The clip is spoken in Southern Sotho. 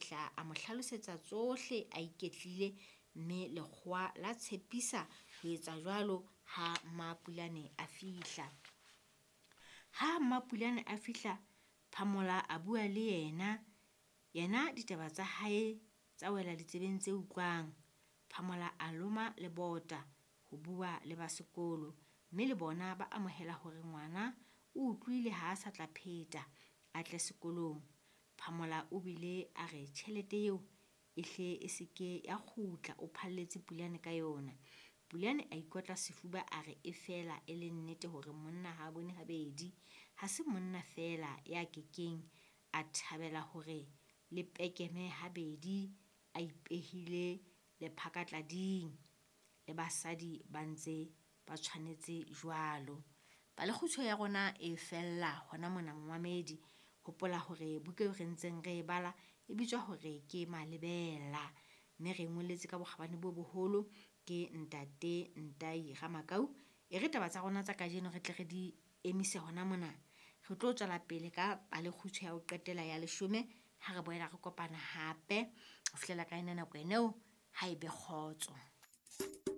fihla a mo hlalosetsa tsohle a iketlile, mme lekgowa la tshepisa ho etsa jwalo ha Mmapulane a fihla. Ha Mmapulane a fihla, Phamola a bua le yena. Yena ditaba tsa hae tsa wela ditsebeng tse utlwang. Phamola a loma lebota ho bua le ba sekolo, mme le bona ba amohela hore ngwana o utlwile ha a sa tla pheta a tle sekolong. Phamola o bile a re tjhelete eo e hle e se ke ya kgutla, o phalletse Pulane ka yona. Pulane a ikotla sefuba a re e fela e le nnete hore monna ha a bone habedi. Ha se monna feela ya kekeng a thabela hore le pekeme habedi a ipehile lephakatlading, le basadi ba ntse ba tshwanetse jwalo. Palekgutshwe ya rona e fella hona mona momamedi. Hopola hore buka eo re ntseng re e bala e bitswa hore ke Malebela, mme re e ngolletse ka bokgabane bo boholo ke ntate Ntai Ramakau. E re taba tsa rona tsa kajeno re tle re di emise hona mona. Re tlo tswela pele ka palekgutshwe ya ho qetela ya leshome ha re boela re kopana hape. Ho fihlela ka ena nako eneo, ha e be kgotso.